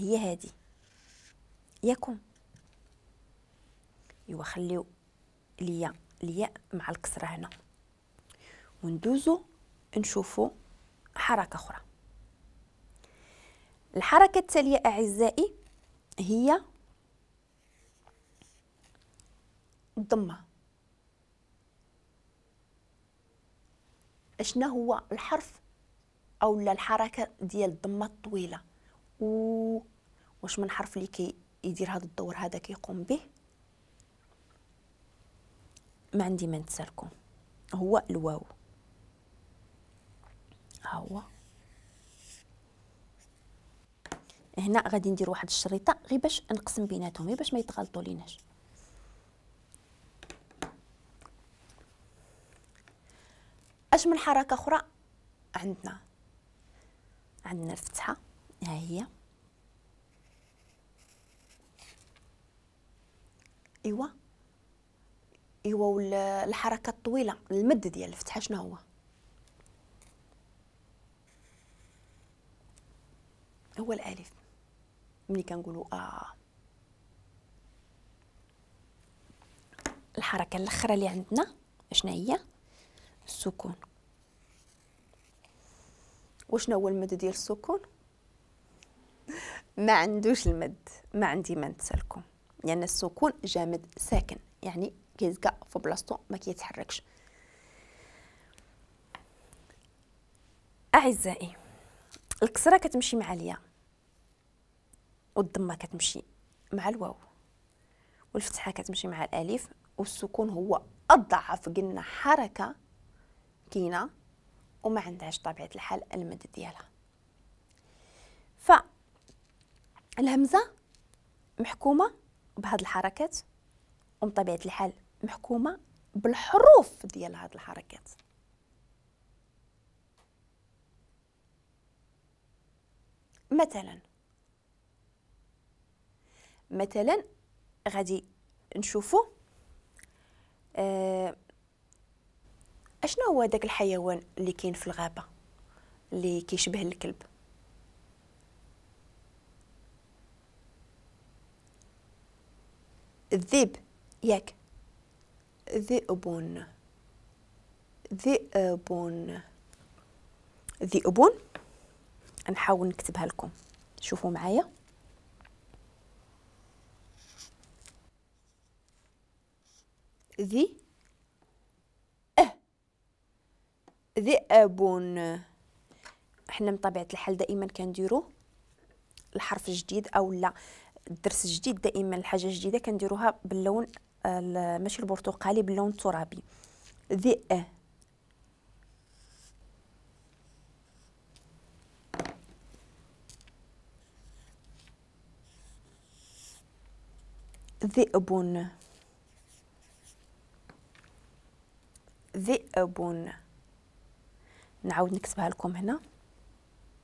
هي هذه ياكم. ايوا خليو ليا الياء مع الكسرة هنا، وندوزو نشوفو حركة اخرى. الحركة التالية اعزائي هي الضمة. اشنا هو الحرف او لا الحركة ديال الضمة الطويلة؟ و واش من حرف اللي كيدير هذا الدور هذا كيقوم به؟ ما عندي ما نتسالكم، هو الواو. ها هو هنا غادي ندير واحد الشريطه غير باش نقسم بيناتهم، غير باش ما يتغلطوا ليناش. اش من حركة اخرى عندنا؟ عندنا الفتحة، ها هي. ايوا والحركة الطويلة المد ديال الفتحة شنو هو؟ هو الالف. ملي كنقولوا الحركة الاخرى اللي عندنا شنو هي؟ السكون. وشنو هو المد ديال السكون؟ ما عندوش المد، ما عندي ما نتسالكم، لان يعني السكون جامد ساكن، يعني كيزكى في بلاصتو ما كيتحركش. اعزائي الكسرة كتمشي مع الياء، والضمه كتمشي مع الواو، والفتحة كتمشي مع الالف، والسكون هو اضعف قلنا حركة كاينه وما عندهاش طبيعة الحال المد ديالها. ف الهمزة محكومة بهاد الحركات، وبطبيعة الحال محكومة بالحروف ديال هاد الحركات. مثلا غادي نشوفوا اشنو هو داك الحيوان اللي كاين في الغابة اللي كيشبه الكلب؟ الذئب، ياك؟ ذئب، ذئب، ذئب. نحاول نكتبها لكم، شوفوا معايا. ذي ذئب. حنا من طبيعة الحال دائما كنديرو الحرف الجديد او لا الدرس الجديد، دائما الحاجة الجديدة كنديروها باللون ماشي البرتقالي، باللون الترابي. ذئ، ذئب، ذئب. نعاود نكتبها لكم هنا.